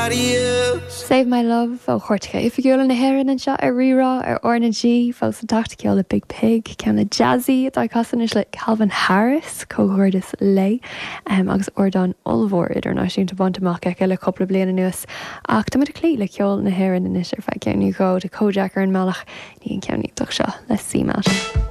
somebody else. Save My Love ó Chairteacha Oifigiúla na hÉireann anseo ar Rí-Rá ar R na G. Fós ag teacht ceol le Biig Piig, ceann le Jazzy atá ag casadh anois le Calvin Harris, comhghairdeas léi, agus ardán ollmhór idirnáisiúnta bainte amach aici le cúpla bliain anuas. Ach tá muid ag cloí le ceol na hÉireann anois ar feadh ceann nó dhó. Tá Kojaque ar an mbealach i ndiaidh an ceann iontach seo le CMAT.